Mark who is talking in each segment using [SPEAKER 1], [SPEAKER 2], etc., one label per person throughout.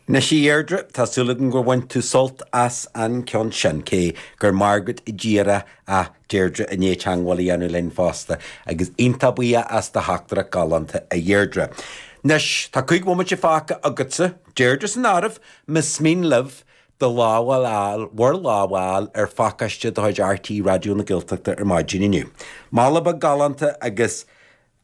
[SPEAKER 1] Anois a Dheirdre, tá súil agam gur bhain tú sult as an ceann sin, cé gur Margaret díreach ach Deirdre i ndiaidh teagmháil a dhéanamh linn fosta, agus iontach buíoch as do theachtaireacht galánta, a Dheirdre. Anois, tá 5 bhomaite fágtha agatsa, Deirdre san áireamh, más mian libh do lámh a fháil, bhur lámh a fháil ar phacáiste de chuid RTÉ Raidió na Gaeltachta ar maidin inniu. Mála beag galánta agus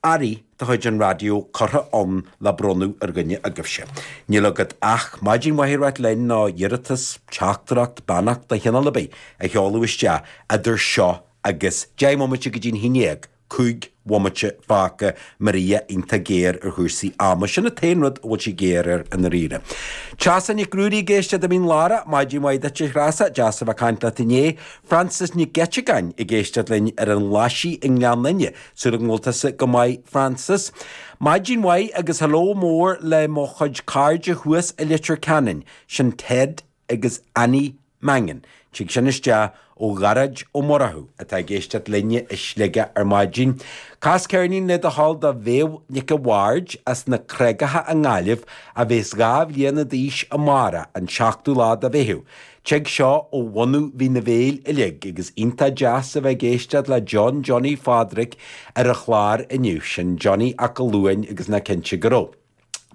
[SPEAKER 1] earraí de chuid an raidió curtha ann le bronnadh ar dhuine agaibhse. Níl agat ach maidin mhaith a ráit linn nó iarratas, teachtaireacht, beannacht de chineál ar bith a sheoladh isteach idir seo agus 10 mbomaite go dtí'n 11, 5 bhomaite fágtha, Maria iontach géar ar chúrsaí ama. Sin an t-aon rud a bhfuil sí géar air i ndáiríre. Treasa Nic Ruairí ag éisteacht i Mín Lárach, maidin mhaith duit a Threasa, deas a bheith ag caint leat inné. Frances Nic Eiteagáin ag éisteacht linn ar an nGlaisigh i nGleann Fhinne. Súil agam go bhfuil tusa go maith Frances. Maidin mhaith agus hello mór le mo chuid cairde thuas i Leitir Ceanainn, sin Ted agus Annie Mangan. Tig sin isteach ó Ghearóid Ó Murchú atá ag éisteacht linne i Sligeach ar maidin. Cas ceirnín le do thoil do Mhéabh Nic a' Bhaird as na Creagacha i nGaillimh a bhéas 2 bhliana d'aois amárach, an 7ú lá de Mheitheamh. Tig seo ó bhunadh Mhín an Bhéil uilig agus iontach deas a bheith ag éisteacht le John Johnny Phádraic ar an chlár inniu, sin Johnny 'Ac a' Luain agus nach cinnte go raibh.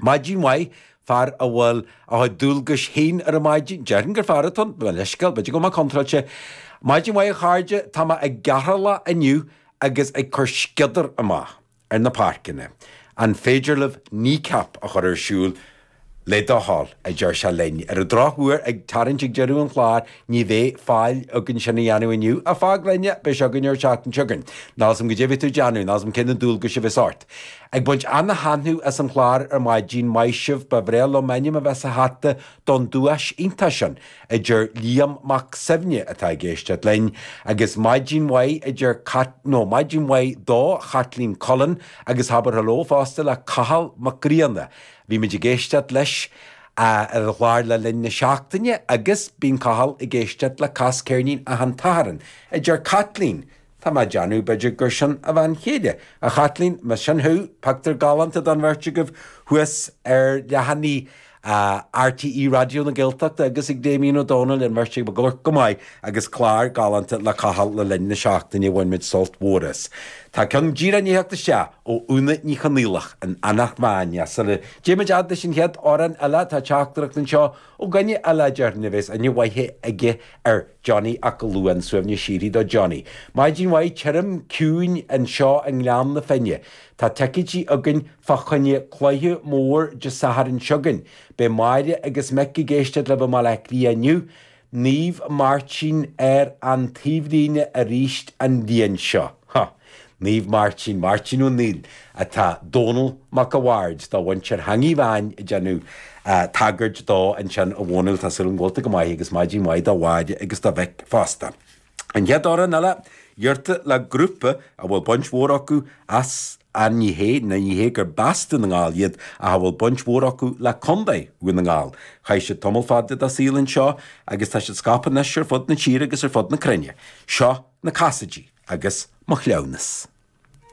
[SPEAKER 1] Maidin mhaith, fear a bhfuil a chuid dualgais féin ar an maidin, déarfainn gur fear atá ann, mo leithscéal, b'fhéidir go bhfuil mé contráilte. Maidin mhaith a chairde, tá mé i gCeatharlach inniu agus ag cur sciodar amach. ar na páirceanna. An féidir libh Kneecap a chur ar siúl le do thoil, a deir sé linn. Ar an drochuair, ag tarraingt ag deireadh an chláir, ní bheidh fáil againn sin a dhéanamh inniu, ach fág linn é, beidh sé againn ar an tseachtain seo chugainn. Níl a fhios agam goidé a bheidh tú ag déanamh, níl a fhios agam cé na dualgais a bheas ort. Ag baint ana-thaitneamh as an chlár ar maidin, maith sibh, ba bhreá liom m'ainm a bheith sa hata don duais iontach sin. a deir Liam Mac Suibhne atá ag éisteacht linn, agus maidin mhaith a deir Cat, nó maidin mhaith do Chaitlín Cullen agus abair hello fosta le Cathal Mac Grianna. Bhí muid ag éisteacht leis ar an chlár le linn na seachtaine agus bíonn Cathal ag éisteacht le Cas Ceirnín achan tSatharn, a deir Caitlín. Tá mé ag déanamh, b'fhéidir gur sin a bhean chéile. A Chaitlín, más sin thú, pictiúr galánta don bheirt agaibh thuas ar leathanaigh RTÉ Raidió na Gaeltachta agus ag Damien Ó Dónaill, an bheirt agaibh ag amharc go maith agus clár galánta le Cathal le linn na seachtaine, bhain muid sult mhór as. Tá ceann díreach i ndiaidh theacht isteach ó Úna Ní Chonaola in Eanach Mheáin. Sula dté muid fhad leis an chéad amhrán eile, tá teachtaireacht anseo Ó dhuine eile, déarfainn, a bheas aithne mhaith aige ar Johnny 'Ac a' Luain, suaimhneas síoraí do Johnny. Maidin mhaith tirim ciúin anseo i nGleann na Finne. Tá ticéidí againn fá choinne cluiche mór Dé Sathairn seo chugainn. Beidh Máire agus Mick ag éisteacht libh i mBaile Átha Cliath inniu. Naomh Máirtín ar an taobhlíne arís an bhliain seo. Huh. Naomh Máirtín, Máirtín Ó Neill, atá Dónall Mac a' Bhaird do mhuintir Theangaidh Mheáin ag déanamh tagairt dó ansin a Dhónaill, tá súil agam go bhfuil tú go maith agus maidin mhaith do Mháire agus do Mhick fosta. An chéad amhrán eile, iarrta le grúpa a bhfuil baint mhór acu as an ní hé, ní hé gur b'as Dún na nGall iad ach a bhfuil baint mhór acu le Contae Dhún na nGall. Chaith siad tamall fada dá saol anseo agus tá siad scaipthe anois ar fud na tíre agus ar fud na cruinne. Seo na Casaidigh agus Mo Chleamhnas.